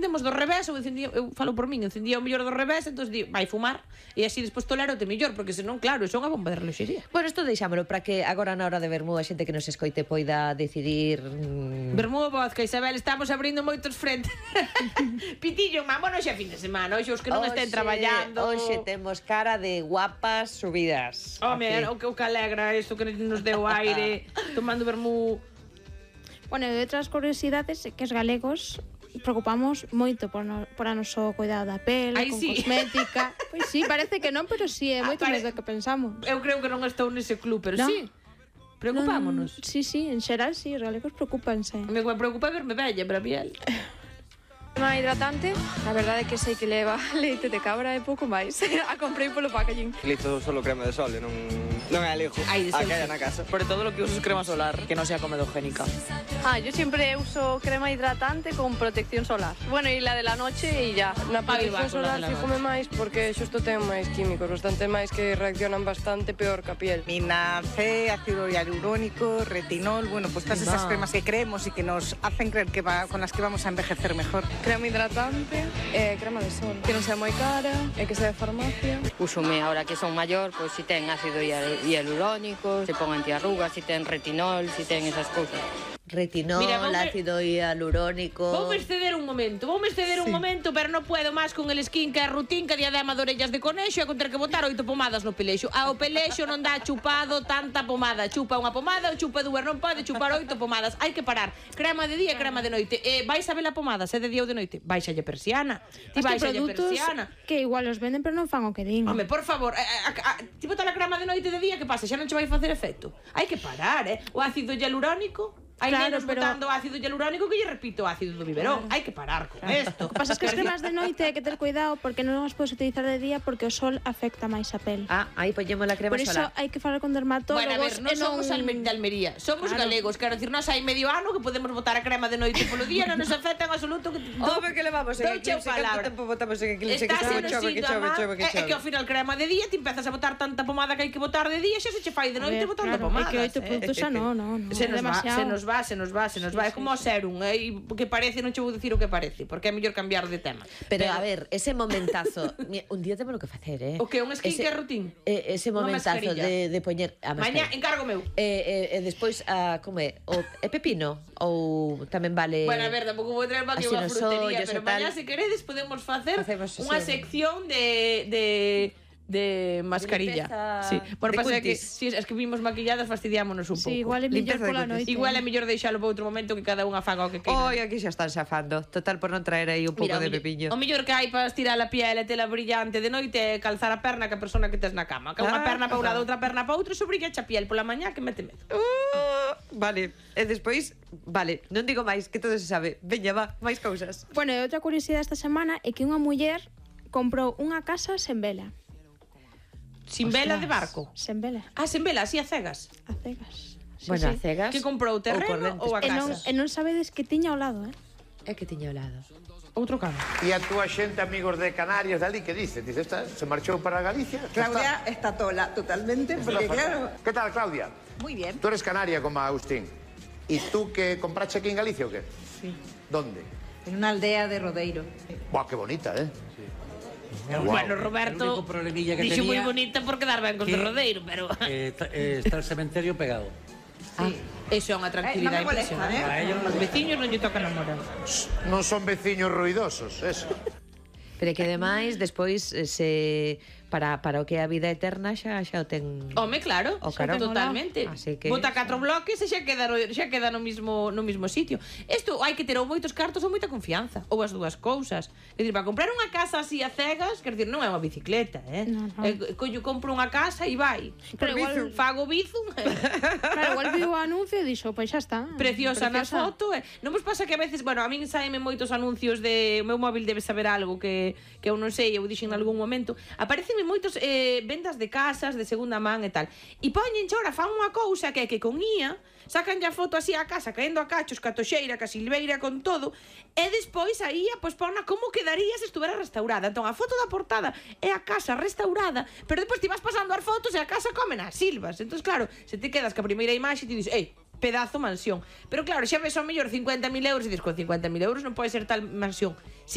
encendemos do revés, eu falo por min, encendía o mellor do revés, entón vai fumar, e así despois tolerote mellor, porque senón, claro, son a bomba de reloxería. Bueno, isto deixámolo para que agora na hora de vermú a xente que nos escoite poida decidir... Vermú, vodka, Isabel, estamos abrindo moitos frentes. Pitillo, bueno, xa fin de semana, hoxe os que non estén traballando. Hoxe temos cara de guapas subidas. Home, o que alegra isto que nos deu aire, tomando vermú. Bueno, e outras curiosidades é que os galegos preocupamos moito por a noso cuidado da pele, con cosmética. Pois sí, parece que non, pero sí, é moito máis do que pensamos. Eu creo que non estou nese club, pero sí. Preocupámonos. Sí, en xeral sí, os galegos preocúpanse. Me preocupa verme bella para a piel. Crema hidratante, a verdade é que sei que leva leite de cabra e pouco máis. A comprei polo packaging. Utilizo solo crema de sol, non é elijo a que haya na casa. Sobre todo lo que uso es crema solar, que no sea comedogénica. Yo siempre uso crema hidratante con protección solar. Bueno, y la de la noche y ya. Na protección solar fíjome máis porque xusto ten máis químicos, bastante máis que reaccionan bastante peor que a piel. Vitamina C, ácido hialurónico, retinol, bueno, pues todas esas cremas que creemos y que nos hacen creer que con las que vamos a envejecer mejor. Crema hidratante, crema de sol, que non sea moi cara e que sea de farmacia. Úsome ahora que son maior, pois si ten ácido hialurónico, se pon antiarrugas, si ten retinol, si ten esas cousas. Retinol, ácido hialurónico... Voume exceder un momento, pero non puedo máis con el skincare routine que diadema de orellas de conexo e con ter que botar 8 pomadas no pelexo. Ao pelexo non dá chupado tanta pomada. Chupa unha pomada ou chupa dúas, non pode chupar 8 pomadas. Hai que parar. Crema de día e crema de noite. Vais a ver a pomada, se de día ou de noite. Báixalle persiana. Ti báixalle persiana. Que igual os venden, pero non fan o que din. Home, por favor, ti botar a crema de noite de día, que pasa? Xa non che vai facer efecto. Hai que parar, O ácido hialurónico... Hai nenos botando ácido hialurónico que lle repito ácido do biberón. Hai que parar con isto. O que pasa é que as cremas de noite hai que ter cuidado porque non as podes utilizar de día porque o sol afecta máis a pel. Aí poñemos a crema solar. Por iso hai que falar con dermatólogos. Bueno, a ver, non somos de Almería, somos galegos. Quero dicir, nós hai medio ano que podemos botar a crema de noite polo día, non nos afecta en absoluto. Home, que levamos en eclipse, canto tempo botamos en eclipse, que chove. É que ao final crema de día ti empezas a botar tanta pomada que hai que botar de día, xa se che fai de noite botando pomadas. É que 8 produtos xa non. Se nos vai, é como o serum, que parece, non che vou dicir o que parece, porque é mellor cambiar de tema. Pero a ver, ese momentazo, un día temos que facer, O que, un skincare routine? Ese momentazo de poñer a mascarilla. Mañá, encargo meu. E despois, como é? É pepino? Ou tamén vale... Bueno, a ver, tampouco vou traer aquí unha frutería, pero mañá, se queredes, podemos facer unha sección de mascarilla. Sí. Bueno, pasa que si es que vimos maquilladas fastidiámonos un pouco. Sí, igual é mellor pola noite. Igual é mellor deixalo para outro momento que cada unha faga o que queira. Oi, aquí xa están xafando. Total, por non traer aí un pouco de pepiño. O mellor que hai para estirar a piel e tela brillante de noite é calzar a perna que a persona que tes na cama. Que unha perna para un lado, outra perna para outro, iso brilla a piel pola mañá que mete medo. Vale, e despois, vale, non digo máis, que todo se sabe. Veña, va, máis cousas. Bueno, e outra curiosidade esta semana é que unha muller comprou unha casa sen vela. Sin vela de barco? Sen vela. Sen vela, así a cegas? A cegas. Bueno, a cegas. Que comprou o terreno ou a casa? E non sabedes que tiña ao lado, É que tiña ao lado. Outro cano. E a túa xente, amigos de Canarias, dali, que dice? Dice, esta se marchou para Galicia? Claudia está tola, totalmente, porque claro... ¿Qué tal, Claudia? Muy bien. Tú eres canaria como Agustín. ¿Y tú que compraste aquí en Galicia o qué? Sí. ¿Dónde? En una aldea de Rodeiro. Buah, qué bonita, ¿eh? Bueno, Roberto dixo moi bonita por quedar ben con o Rodeiro, pero... Está el cementerio pegado. Sí. Eso é unha tranquilidade impresionante. Os veciños non lle tocan a moral. Non son veciños ruidosos, eso. Pero que ademais, despois, para o que é a vida eterna xa o ten... Home, claro, totalmente. Bota 4 bloques e xa queda no mismo sitio. Isto hai que ter ou moitos cartos ou moita confianza, ou as dúas cousas. É dicir, para comprar unha casa así a cegas, quer dicir, non é unha bicicleta, compro unha casa e vai. Pero igual fago bizum. Claro, igual viu o anuncio e dixo, pois xa está. Preciosa na foto. Non vos pasa que a veces, bueno, a min saeme moitos anuncios de... O meu móvil debe saber algo que eu non sei, eu dixen en algún momento. Aparecen moitos vendas de casas de segunda man e tal. E poñen ahora, fan unha cousa que é que con IA sacan a foto así a casa, caendo a cachos, ca toxeira, ca silveira, con todo, e despois a IA pois pon como quedaría se estuvera restaurada. Entón a foto da portada é a casa restaurada, pero despois ti vas pasando as fotos e a casa comen as silvas. Entón claro, se te quedas ca primeira imaxe e ti dices, pedazo mansión. Pero claro, xa ves ao mellor 50.000 euros e dices, con 50.000 euros non pode ser tal mansión.